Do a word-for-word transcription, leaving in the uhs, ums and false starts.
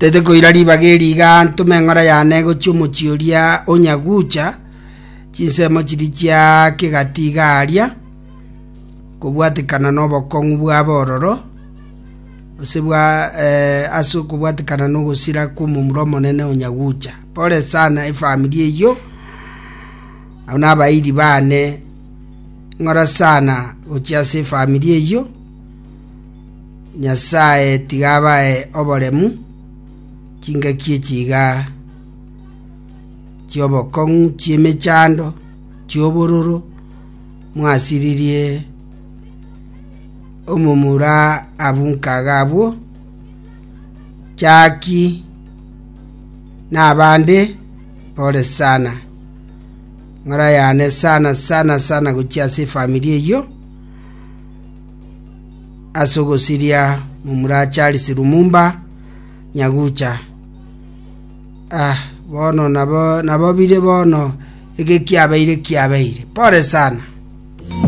Tete koira ribaga eri iga ntome eng'ora yane gochia omochie oria o Nyagucha, chinsemo chiria chia kegati iga aria, kobwatekana na obokong'u bwabo ororo, gose bwa eh, ase okobwatekana na ogosira kw'omomura omonene o Nyagucha. Pole sana efamiri eyio, abwo na abairi bane, ng'ora sana gochia ase efamiri eyio, Nyasaye tiga abae oboremu, chingaki echi iga chi'obokong'u, chi'emechando, chi'obororo, mwasiririe omomura abwo nkaga abwo, Jackie na abande, pole sana. Ng'ora yane sana sana sana gochia ase efamiri eyio, ase ogosiria momura Charles Lumumba Nyagucha. Ah, bono nabo nabo bire bono eke kiabeire kiabeire. Pole sana.